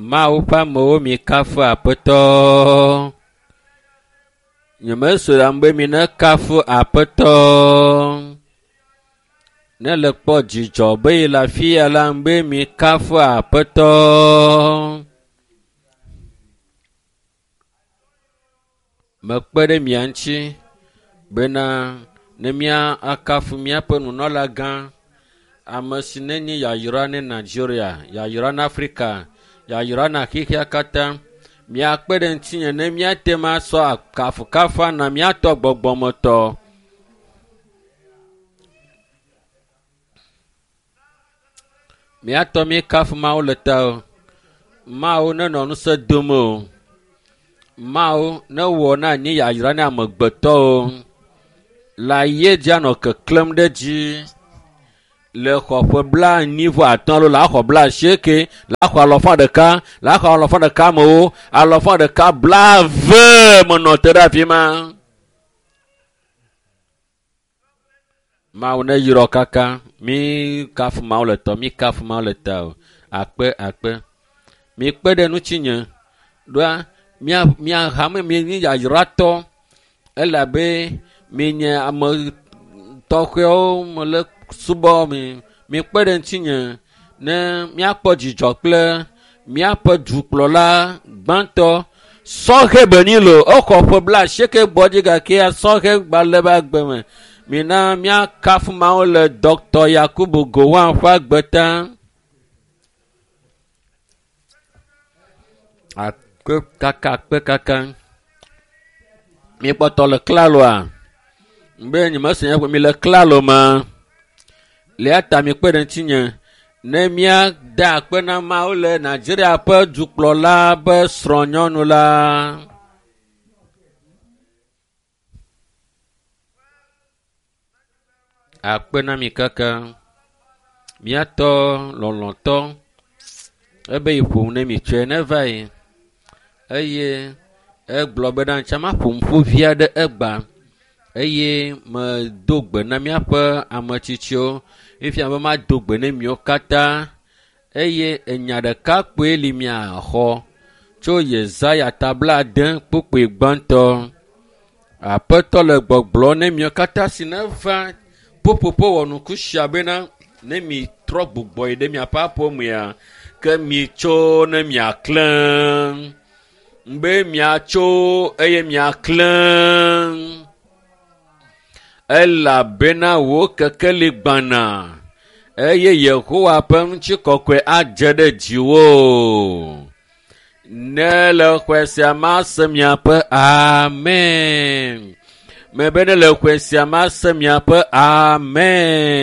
Mawu ƒe amewo mikafu Aƒetɔ. Nyemese be mi nekafu Aƒetɔ. Ne le kpɔ dzidzɔ be yi le afi ya la be mikafu Aƒetɔ. Mekpe ɖe mia ŋuti bena ne mía akafu míaƒe nunɔla gã, ame si nenye yayra ne Nigeria, yayra na Afrika, yayra na xexea katã. Miakpe ɖe ŋutinye ne míate ŋu asɔ kafukafu na míatɔ gbɔgbɔmetɔ. Míatɔ míekafu Mawu le ta o. Mawu nenɔ ŋusẽ dom o. Mawu newɔ na anyi yayra na amegbetɔwo. Le aye dzi anɔ keklẽm ɖe dzi. Le xɔ ƒe 45 alo le axɔ 80, le axɔ alɔfa ɖeka, le axɔ alɔfa ɖeka amewo, alɔfa ɖeka 70 menɔ te ɖe afi ma. Mawu ne yrɔ kaka, mi kafu Mawu le tɔ, mi kafu Mawu le ta o. Akpe, akpe. Mi kpe ɖe ŋutinye. Ɖoa, mia, mia hame mi nyi yayratɔ elabe mi nye ame tɔxɛwo mele subɔ mi. Mi kpe ɖe ŋutinye ne míakpɔ dzidzɔ kple míaƒe dukplɔla gbãtɔ sɔhɛ Benilo. Exɔ ƒe 80 gbɔ dzi gake sɔhɛ gbalẽ be agbe me. Mina míakafu Mawu le Dr. Yakubu Gowon ƒe agbe ta. Akpe kaka, akpe kaka. Mikpɔtɔ le klaloa? Be nyemese nye mi le klalo ma. Le ya ta mikpe ɖe ŋutinye ne míada akpe na Mawu le Nigeria ƒe dukplɔla be srɔ̃nyɔnu la. Akpe na mi kaka. Míatɔ lɔlɔ̃tɔ ebe yi ƒom ne mi tsɔe ne va yi. Eye egblɔ bena ntsa maƒo ƒu vi aɖe egba eye medo gbe na míaƒe ametsitsiwo. Efia be mado gbe ne miwo katã eye enya ɖeka kpoe li miaxɔ tso Yesaya ta 60 kpukpui gbãtɔ. Aƒetɔ le gbɔgblɔ ne miwo katã si neva ƒuƒoƒo wɔnuku sia bena ne mi trɔ gbugbɔ yi ɖe miaƒe aƒemea ke mitso ne miaklẽ. Be miatso eye miaklẽ. Elabena wò kekeli gbana eye Yehowa ƒe ŋutikɔkɔe adze ɖe dziwò. Ne le xɔe sia mase miaƒe amen. Mebe ne le xɔe sia mase miaƒe amen.